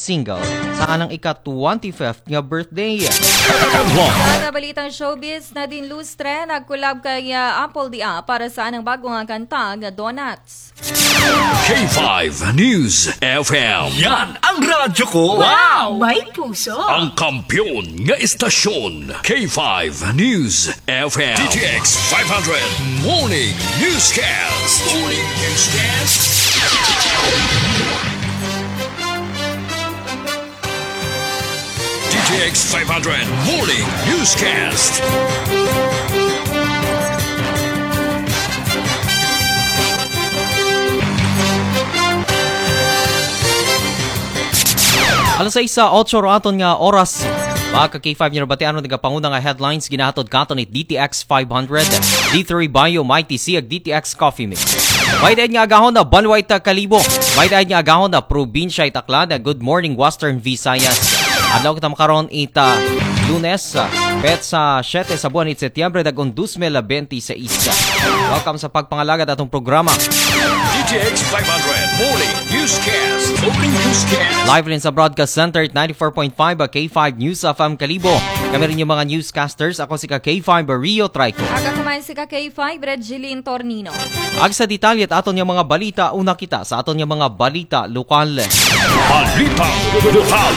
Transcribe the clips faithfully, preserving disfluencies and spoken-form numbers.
single sa anang ika-twenty-fifth nga birthday. Mga balitang showbiz, Nadine Lustre nagkulab kay ah, Apple Dia para sa anang bago nga kanta nga Donuts. K five News F M. Yan ang radyo ko. Wow! May puso! Ang kampiyon nga istasyon. K five News F M. D T X five hundred Morning Newscast. Morning Newscast. D T X five hundred Morning Newscast. Alas sais sa otso ro aton nga oras. Mga ka K five, niyo batian ron nagapanguna nga headlines ginahatod katon ni D T X five hundred, D three Bio, Mighty C, ag D T X Coffee Mix. May daid nga agahon na banwa ita Kalibo. May daid nga agahon na probinsya ita Aklan. Good morning, Western Visayas. Adlaw kita makaron ita Lunes, petsa siyete sa buwan it Setyembre, dagon dos mil benti sais. Welcome sa pagpangalagad atong programa. D T X five hundred Morning Newscast. Morning Newscast. Live rin sa Broadcast Center at ninety-four point five K five News F M Kalibo. Kami rin yung mga newscasters. Ako si ka K five Rio Trico. Aga kumain si ka K five, Red Jeline Tornino. Ag sa detalye at aton nga mga balita, una kita sa aton nga mga balita lokal. Balitang lokal.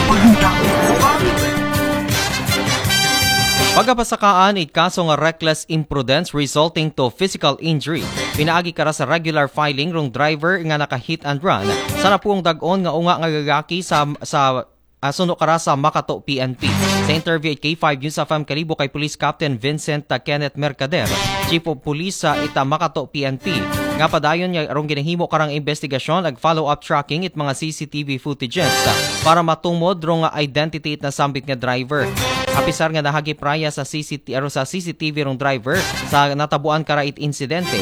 Pagapasakaan it kaso nga reckless imprudence resulting to physical injury pinaagi kara sa regular filing rong driver nga naka-hit and run sa napuong dagon nga unga nga lalaki sa sa ah, suno kara sa Makato P N P. Sa interview it K five News F M Kalibo kay Police Captain Vincent ah, Kenneth Mercader, Chief of Police sa ita Makato P N P, nga padayon nga rong ginahimo karang investigasyon ag follow-up tracking it mga C C T V footages ah, para matumod rong identity it nasambit nga driver. Apisar nga nahagip raya sa C C T V, aro sa C C T V rong driver sa natabuan kara it insidente.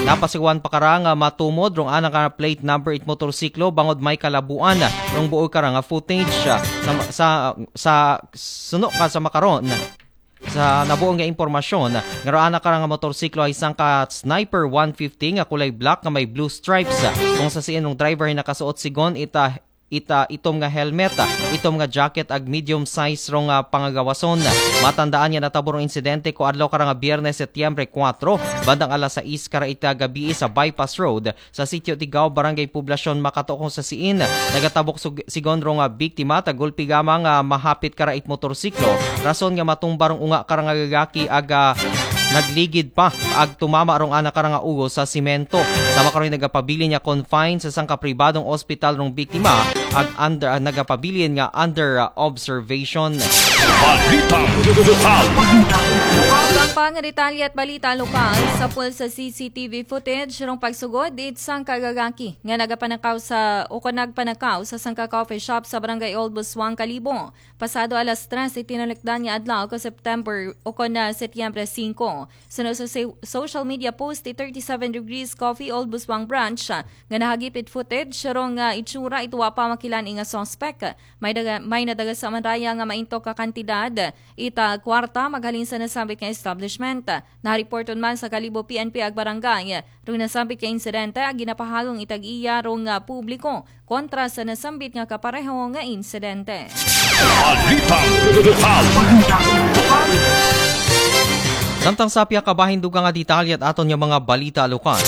Napasiwan pa kara nga matumod rong ana ka plate number it motorsiklo bangod may kalabuan rong buoy kara nga footage ah, sa sa sa suno ka sa makaron. Sa nabuong nga impormasyon, nga raan na karang motorsiklo ay isang ka Sniper one fifty nga kulay black nga may blue stripes. Kung sa siin ng driver ay nakasuot sigon ita ita itom nga helmet, itom nga jacket ag medium size rong ah, pangagawason. Matandaan nga natabo rong insidente ko adlaw karang Biyernes, Setyembre kuwatro, bandang alas sais kara ita gabi sa Bypass Road sa Sitio Tigao, Barangay Poblacion, Makato, kung sa siin nagatabok sug- sigon rong ah, biktima, tagulpi gamang ah, mahapit kara it motorsiklo, rason nga matumba rong unga kara nga lalaki ag ah, nagligid pa ag tumama rong ana kara nga ulo sa simento. Sama karon nagapabilin nga confine sa sangka pribadong ospital rong biktima ag under ah, nagapabilin nga under ah, observation. Balitang lokal. Pampanga, detalye at balita lokal sa pul sa C C T V footage rong pagsugod it sangka lalaki nga nagapanakaw sa o kon nagpanakaw sa sangka coffee shop sa Barangay Old Buswang, Kalibo. Pasado alas tres it tinulikdan nga adlaw ko September o kon na Setyembre singko. Suno sa se- social media post it thirty-seven Degrees Coffee Old Buswang Branch ah, nga nahagip it footage rong ah, itsura it wa pa makilan nga suspect. May daga, may nadaga sa manraya nga maintok ka kantidad ita kwarta maghalin sa nasambit nga establishment. Nariporton man sa Kalibo P N P ag barangay rong nasambit nga insidente ag ginapahalong itag iya rong ah, publiko kontra sa nasambit nga kapareho nga insidente. Balitang lokal. Samtang sa pihak kabahin dugang nga detalye at aton nga mga balita lokal.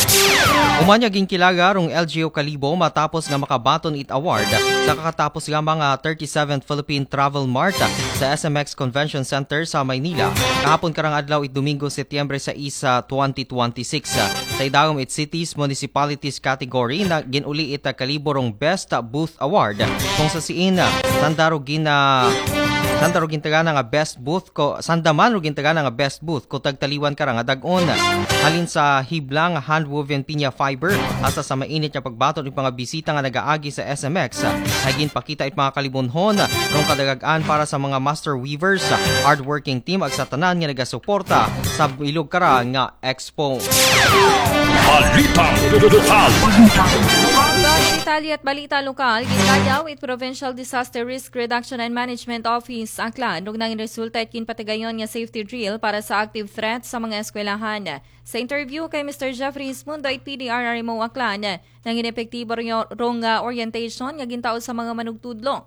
Umanya ginkilala rong L G U Kalibo matapos nga makabaton it award sa kakatapos lamang nga thirty-seventh Philippine Travel Mart sa S M X Convention Center sa Maynila. Kahapon karang adlaw it Domingo, Setyembre sais, twenty twenty-six. Sa idawom it cities, municipalities category na ginuli it Kalibo rong Best Booth Award. Kung sa siin, sanda ro gina sanda ro gintagana nga best booth ko sanda man ro gintagana nga best booth ko tagtaliwan kara nga dag-on. Halin sa hiblang handwoven pinya fiber hasta sa mainit nga pagbaton it mga bisita nga nagaagi sa S M X. Ay ginpakita it mga kalibunhon rong kadagag-an para sa mga master weavers, hardworking team ag sa tanan nga nagasuporta sa bilog kara nga expo. Balitang lokal. Mga detalye at balita lokal, gitayaw it Provincial Disaster Risk Reduction and Management Office Aklan rong nangin resulta it ginpatigayon nga safety drill para sa active threat sa mga eskwelahan. Sa interview kay Mister Jeffrey Ismundo it P D R R M O Aklan, nangin epektibo ro- rong ah, orientation nga gintao sa mga manugtudlo.